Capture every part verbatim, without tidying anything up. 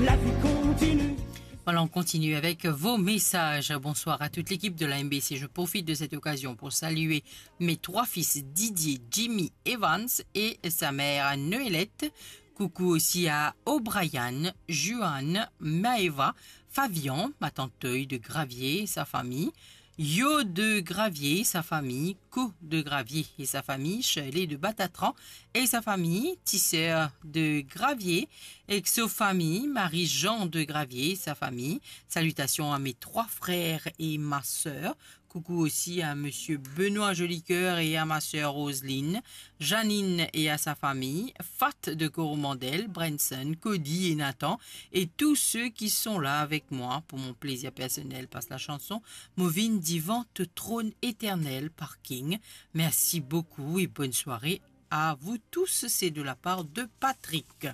La vie continue. Voilà, on continue avec vos messages. Bonsoir à toute l'équipe de la M B C. Je profite de cette occasion pour saluer mes trois fils, Didier, Jimmy, Evans, et sa mère, Noëlette. Coucou aussi à O'Brien, Juan, Maëva, Fabian, ma tante Toy de Gravier et sa famille, Yo de Gravier et sa famille, Co de Gravier et sa famille, Shirley de Batatran et sa famille, Tisser de Gravier et sa famille, Marie-Jean de Gravier et sa famille. Salutations à mes trois frères et ma sœur. Coucou aussi à monsieur Benoît Jolicoeur et à ma sœur Roseline, Janine et à sa famille, Fat de Coromandel, Brenson, Cody et Nathan, et tous ceux qui sont là avec moi pour mon plaisir personnel. Passe la chanson Mo vinn divan to tronn eternel par King. Merci beaucoup et bonne soirée à vous tous. C'est de la part de Patrick.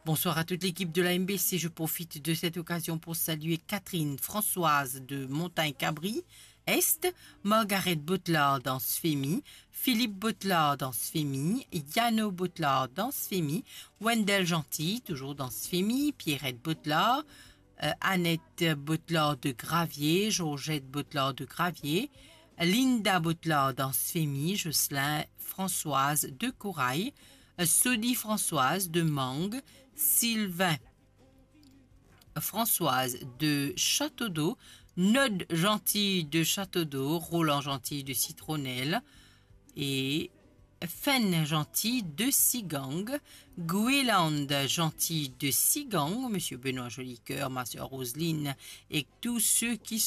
Bonsoir à toute l'équipe de la M B C. Je profite de cette occasion pour saluer Catherine Françoise de Montagne Cabri, Est, Margaret Botlard dans Sfemi, Philippe Botlard dans Sfemi, Yano Botlard dans Sfemi, Wendell Gentil, toujours dans Sfemi, Pierrette Botlard, euh, Annette Botlard de Gravier, Georgette Botlard de Gravier, Linda Botlard dans Sfemi, Jocelyn Françoise de Corail, euh, Sodi Françoise de Mangue, Sylvain Françoise de Château-d'Eau, Nod Gentil de Château-d'Eau, Roland Gentil de Citronnelle et Fen Gentil de Sigang, Gweland Gentil de Sigang, Monsieur Benoît Jolicoeur, ma sœur Roseline et tous ceux qui